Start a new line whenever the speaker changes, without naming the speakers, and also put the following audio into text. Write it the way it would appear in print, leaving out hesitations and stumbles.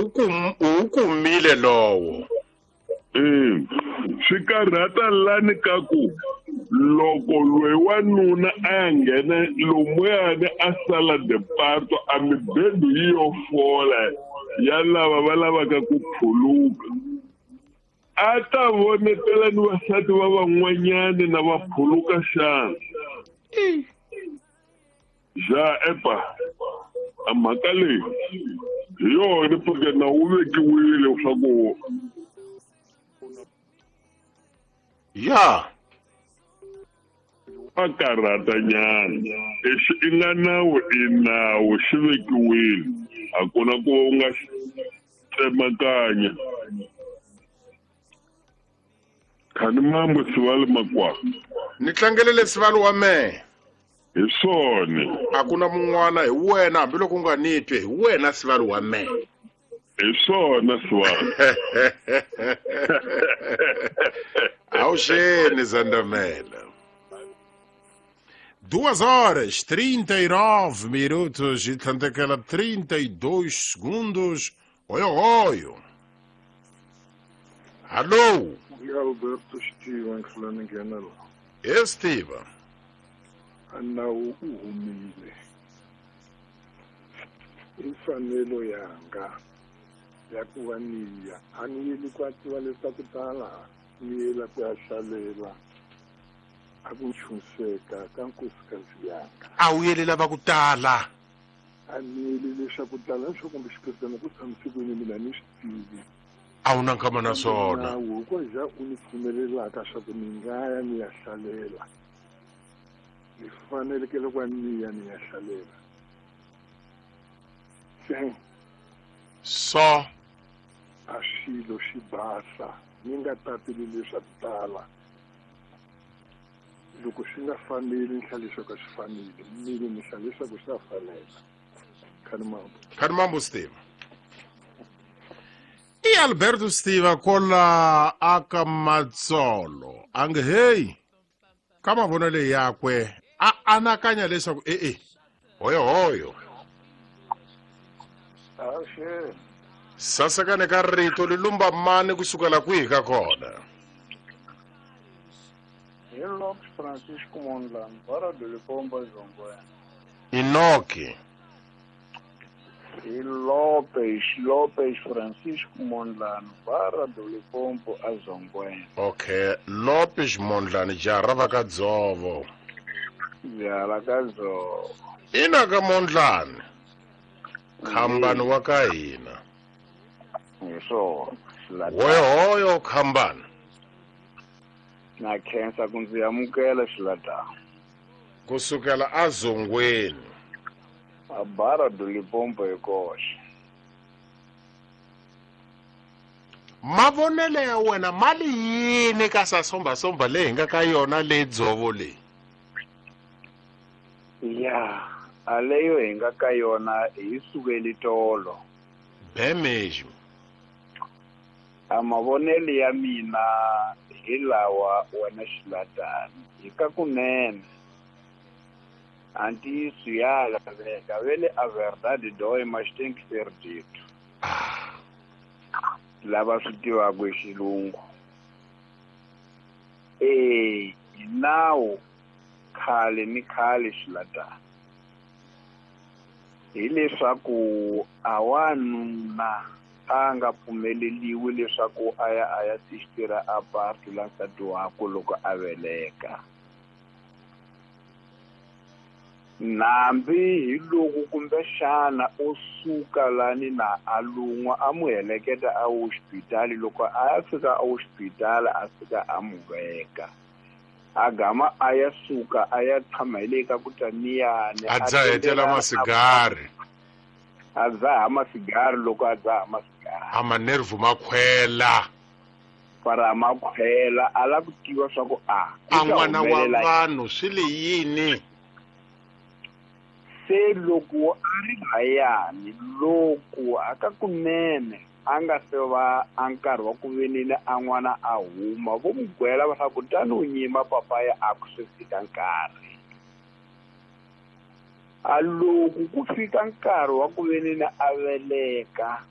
U kumile lowo.
Swi karhata lani ka ku loko loyi wanuna a ya nghena lomuyani a sala departo a mibedo yi yo fola ya lava va lavaka ku phuluka a ta vonetela ni vasati va van'wanyani na va phuluka xana ja epa a mhaka leyi hi yona pfuke na wu vekiwile leswaku
ya
a karhata nyana lexi i nga nawu i nawu xi vekiwile a ku na ku u nga xi tsemakanya khani mambo sivali makwako
ni tlangelele sivali wa mehe
hi swona
a ku na mun'wana hi wena hambiloko u nga ni twi hi wena sivali wa mehe
hi swona sivali
awuxeni zandamela 2 horas 39 minutos e tlhandlekela 32 segundos. Oyo oyo. Alô,
E Alberto Steven Flanagan
Esteban.
nawu u humile i mfanelo yanga ya ku va niya a ni yeli ku a tiva leswaku tala ni yela ku ya hlalela a ku nchunseka ka nkosikazi yanga
A wu yeli lava ku tala.
A ni yeli leswaku tala leswaku kumbe xiphesana ku tshamise kwini mina ni swi tivi
A wu na nkama na swona.
Nawu hikuva ja u ni pfumelelaka swa ku ni nga ya ni ya hlalela ni fanelekele ku va ni ya ni ya hlalela se
So
a xilo xi basa ni nga tateli leswaku tala loko swi nga faneli ni hlaya leswaku a swi faneli mina ni hlaya leswaku swa fanela khani mambo
Khani mambo Steve. I Alberto Steve kola aka Matsolo. Ange hey. Ka mavonelo yakwe a anakanya leswaku e-e hoyo hoyo
Axe
sasekane ka rito li lumba mani kusukela kwihi ka kona
hi Lopes Francisco Mondlane Barra do Limpopo Zongwena
inoki
hi Lopes Lopes Francisco Mondlane Barra do Limpopo aZongwena
okay Lopes Mondlane jaha va ka dzovo
jaha ka Dzovo
ina ka Mondlane khambani wa ka hina
hi swona
hoyo hoyo khambani
na khensa ku ndzi amukela xilatana
kusukela azongweni
a Barra do Limpopo hi koxe
mavonelo ya wena mali yini ka sasombasomba leyi hi nga ka yona leyi dzovo leyi
ya a leyo hi nga ka yona hi sukeli tolo
be mesmo
a mavonelo ya mina hi lawa wena xilatani hi ka kunene a ntiyiso ya laveka vele a verdade dói mas tem que ser dito lava swi tivaka hi xilungu e hi nawu khale ni khale xilatani hileswaku a wanuna a nga pfumeleliwi leswaku a ya a ya tixitira a partu la nsati wakwe loko a veleka nambi hi loko kumbexana o suka lani na a lun'wa a mu heleketa a hoxipitali loko a ya fika a hoxipitali a fika a mu veka a gama a ya suka a ya tshama hi le ka ku taniyani
a dzahetela masigari
a dzaha masigari loko a dzaha masigari
a manervu ma khwela
para ma khwela a lava ku tiva swa ku a
a n'wana wa vanhu swi le yini
se loko a ri layani loko a ka kunene a nga se va a nkarhi wa ku venile a n'wana a huma vo mu gwela va swa ku tani u nyima papaya a ku se fika nkarhi a loko ku fika nkarhi wa ku venile a veleka